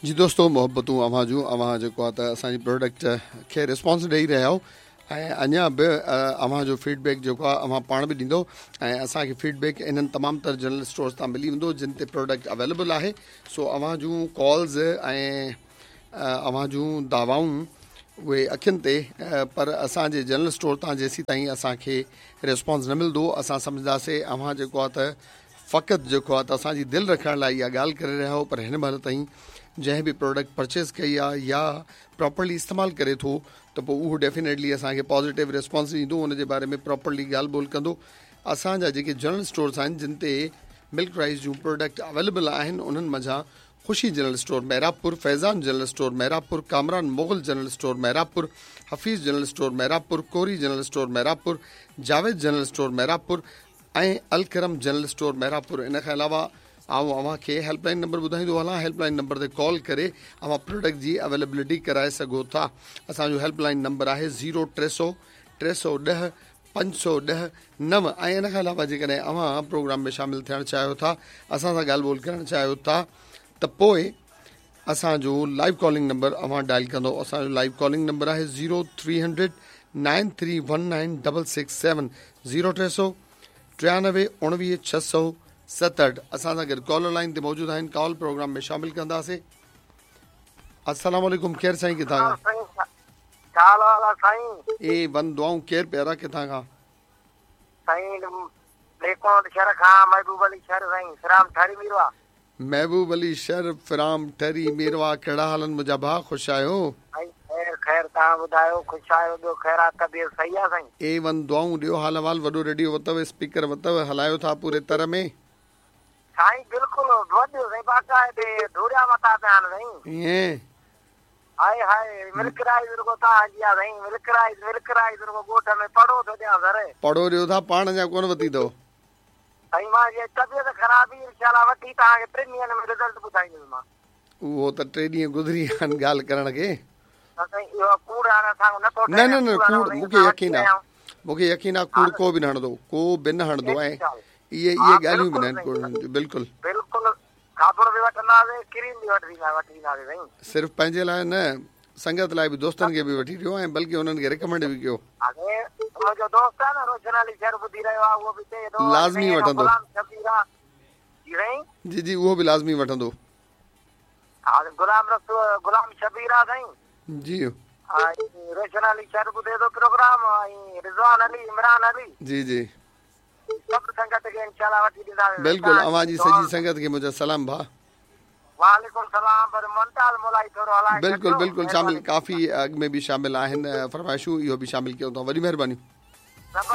جي دوستو محبتون اوهان جون اوهان جيڪو آ ته اسان جي پروڊڪٽ کي ريسپانس ڏئي رهيا آهيو ۽ اڃا به اوهان جو فيڊ بيڪ جيڪو آ اوهان پاڻ به ڏيندو ۽ اسان کي فيڊ بيڪ انهن تمام تر جنرل اسٽورز تان ملي ويندو جن تي پروڊڪٽ اويليبل آهي سو اوهان جون ڪالز ۽ اوهان جون دعوائون اهي اکين تي پر اسان جي جنرل اسٽور تان جيسين تائين اسان کي ريسپانس نه ملندو اسان سمجهنداسي اوهان جيڪو آ ته فقط جيڪو آ ته اسان جي دل رکڻ لاء اها ڳالهه ڪري رهيا آهيو پر هن مهل تائين جنهن به پروڊڪٽ پرچيز ڪئي آ يا پراپرلي استعمال ڪري ٿو ته پوء اهو ڊيفينيٽلي اسان کي پازيٽو ريسپانس ڏيندو ان جي باري ۾ پراپرلي ڳالهه ٻولهه ڪندو اسان جا جيڪي جنرل اسٽورس آهن جن تي ملڪ رائس جون پروڊڪٽ اويليبل آهن انهن منجهان Khushi general store Mehrabpur, Faizan general store Mehrabpur, Kamran Mughal general store Mehrabpur, Hafeez general store Mehrabpur, Kori general store Mehrabpur, Javed general store Mehrabpur ۽ Alkaram general store Mehrabpur ان کان علاوه آئون اوهان کي help line number ٻڌائيندو هلان help line number تي call ڪري اوهان پروڊڪٽ جي اويليبلٽي ڪرائي سگهو ٿا اسان جو هيلپ لائن نمبر آهي زيرو 300 310 510 9 ۽ ان کان علاوه جيڪڏهن اوهان پروگرام ۾ شامل ٿيڻ چاهيو ٿا اسان سان ڳالهه ٻولهه ڪرڻ چاهيو ٿا ته پوء اسان جو لائيو ڪالنگ نمبر اوهان ڊائل ڪندو اسان جو لائيو ڪالنگ نمبر آهي zero three hundred nine three one nine double six seven zero ٽي سو ٽيانوي اڻويهه ڇهه سو ستهٺ اسان سان گڏ ڪالر لائن تي موجود آهن ڪال پروگرام ۾ شامل ڪنداسي السلام عليڪم ڪير سائين ڪٿان کان ڇا حال آ سائين؟ اي ون دعائون ڪير پيارا ڪٿان کان؟ سائين ليکوٽ شھر کان محبوب علي شر سائين فرام ٺري ميرواھ. محبوب علي شر فرام ٺري ميرواھ ڪهڙا حال آهن منهنجا ڀاء خوش آهيو؟ سائين خير خير توهان ٻڌايو خوش آهيو ٻيو خير آ طبيعت صحيح آ سائين؟ اي ون دعائون ڏيو حال احوال وڏو ريڊيو وتو اسپيڪر وتو هلايو ٿا پوري تر ۾. سائين بلڪل وڏو سائين باقاعدي ڌوڙيا مٿا پيا آهن سائين. ائين. هائي هائي ملڪ رائيز رڳو توهان جي آ سائين ملڪ رائيز ملڪ رائيز رڳو ڳوٺ ۾ پڙهو ٿو ڏيان سر. پڙهو ڏيو ٿا پاڻ اڃا ڪونه وتي اٿو. سائين مان جي طبيعت خراب هئي انشاء الله وٺي توهان کي ٽن ڏينهن ۾ رزلٽ ٻڌائيندس مان. اهو ته ٽي ڏينهن گذري ويا آهن ڳالهه ڪرڻ کي. نه سائين اهو ڪوڙ هاڻي اسان کان نٿو ٺهي نه نه نه ڪوڙ مون کي يقين آ مون کي يقين آ ڪوڙ ڪو به نه هڻندو ڪو به نه هڻندو ۽ اهي اهي ڳالهيون به نه آهن ڪوڙ هڻڻ جون بلڪل. بلڪل صابڻ به وٺنداسين ڪريم به وٺي وٺي وينداسين سائين. صرف پنهنجي لاء نه سنگت لاء به دوستن کي به وٺي ڏيو ۽ بلڪه انهن کي ريڪمينڊ به ڪيو. هاڻي منهنجو دوست آهي نه روشن علي شر ٻڌي رهيو آهي اهو به چئي ٿو لازمي وٺندو. غلام شبير آ جي سائين. جي جي اهو به لازمي وٺندو. ها غلام رسول غلام شبير آ سائين. جي. ۽ روشن علي شر ٻڌي ٿو پروگرام ۽ رضوان علي عمران علي. جي جي. سڀ سنگت کي انشاء الله وٺي ڏينداسين. بلڪل اوهان جي سڄي سنگت کي منهنجا سلام ڀاء. وعليڪم سلام پر ممتاز مولائي ٿورو هلائي بلڪل بلڪل شامل ڪافي اڳ ۾ به شامل آهن فرمائشون اهو به شامل ڪيون ٿا وڏي مهرباني.